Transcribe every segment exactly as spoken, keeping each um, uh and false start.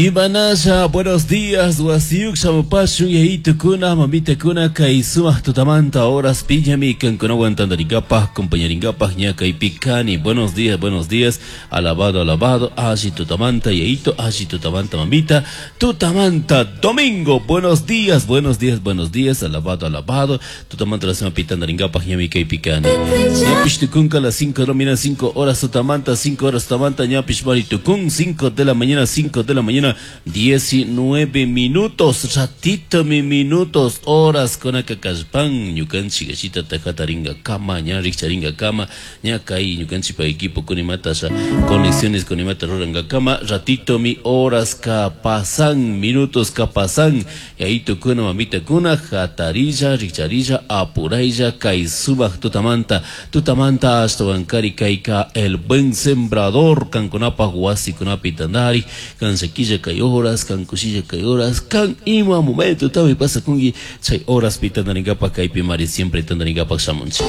Imanasha, buenos días, wasiyuk shamupashun yayitukuna, mamitakuna, kay sumaq tutamanta horas piñami kankunawan tantaringapaj, compañaringapaj ña kaypi kani. Buenos días, buenos días, alabado, alabado, alli tutamanta yayito, alli tutamanta mamita, tutamanta domingo, buenos días, buenos días, buenos días, alabado, alabado, tutamanta la semana pitandaringapaj ñami kaypi kani. Ñapish tukunka las cinco de la mañana, cinco horas tutamanta, cinco horas tutamanta, ñapish mari tukun, cinco de la mañana, cinco de la mañana, diecinueve minutos, ratito mi minutos, horas con akakashpan, ñukanchik gashita tajataringa kama, ña rikcharinga kama, ña kay ñukanchik pa equipo kunimatasha, conexiones kunimata ruranga kama, ratito mi horas ka pasan, minutos ka pasan, y ahí tukuna mamita kuna, jatarilla, rikcharilla, apuraylla, kay sumaq tutamanta, tutamanta ashtawankari kayka el buen sembrador, kankunapaj wasikunapi tandari, kanshakilla kay horas, kan kushilla kay horas, kan ima momento tawi pasa kungi chay horas pi tandaringapaj kaypi mari siempre tandaringapaj shamunchik.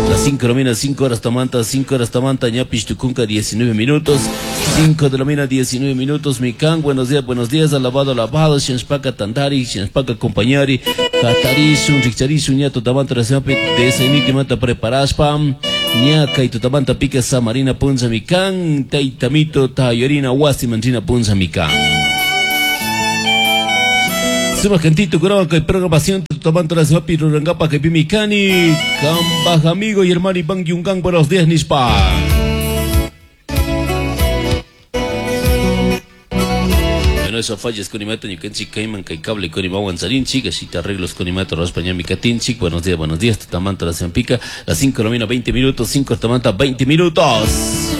Las cinco de la mañana, cinco horas tamanta, cinco horas tamanta, ñapish tukunka diecinueve minutos, cinco de la mañana, diecinueve minutos, mi kan, buenos días, buenos días, alabado, alabado, shinshpaka tandari, shinshpaka compañari, jatarishun, rikcharishun, ña tutamanta rasimapi, desayuniti mata preparashpa, ña kay tutamanta pika samarina puncha mi kan, taytamito tayarina wasi manchina puncha mi kan. Sumaq cantito kunawan kay programación tutamanta rasimapi rurangapa kay pimikani, kambaj amigo y hermano Iván Yungan, buenos días nishpa. Bueno, eso fallas con imata ñukanchik kayman kay cable con imawan charinchik, ashita arreglos con imata raspa ñami katinchik. Buenos días, buenos días, tutamanta la pica, las cinco de la mañana, veinte minutos, cinco tutamanta, veinte minutos.